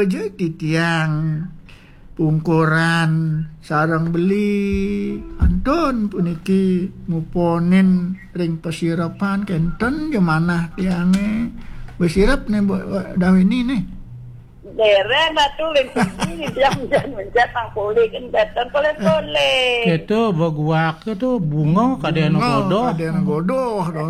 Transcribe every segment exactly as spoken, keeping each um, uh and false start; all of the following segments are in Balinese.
Jadi tiang pungkuran sareng beli, antun puniki muponin ring pasirepan, kenten ya manah tiange. Wis sirep nih, Bu Dawini nih. Dereng Ratu, ring sini jam-jam mencet pang polih, kan kenten poleh-poleh. Itu beguak itu bunga kadena godoh. Kadena godoh to.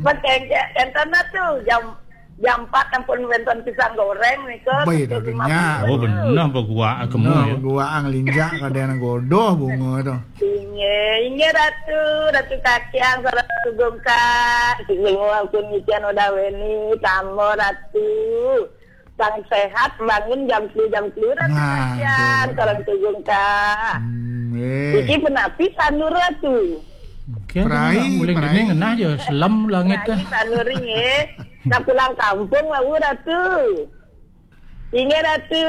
Mas kenten Ratu, jam jam empat ampun wenten pisang goreng nika. Baik, Ratu, nya. Oh, bener beguak kemu Nah, ya. Guaang linjak kadena godoh bunga to. Inggih, inggih Ratu, Ratu Kakiang, sareng Tugung Kak. Semua pun ngican udah weni, tambah Ratu. Sang sehat bangun jam sepuluh jam sepuluh Ratu Nah, Kakiang, betul. sareng Tugung Kak. Hmm, eh. Iki penapi sanur Ratu. Oke, Prai, mulai prai. Gini ngenah ya, selem langit Lagi dah. sanur nggih. Nah, pulang kampung wau Ratu. Inggih Ratu.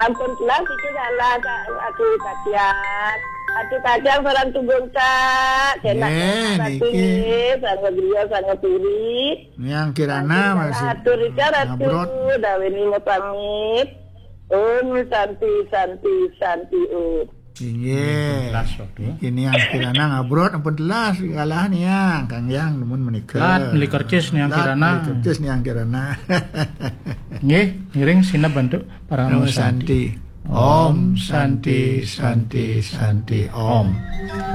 Ampun pulang iki salah Ratu Kakiang. Ratu Kakiang sareng Tugung Kak. Kena Nggih, Ratu niki. Nggih, sareng griya sareng puri. Yang Kirana masih Atur Rika Ratu, ngabrot. Dawini mau pamit. Om Santi, Santi, Santi Om. Inggih. Telas waktu. Ini yang Kirana ngabrot ampun telas kalah nih yang Kang Yang nemun menikah. Lat, beli kercis nih yang Kirana. Beli kercis nih yang Kirana. Nggih, ngiring sineb bantu para Om Santi. Santi. Om Santi, Santi, Santi, Om.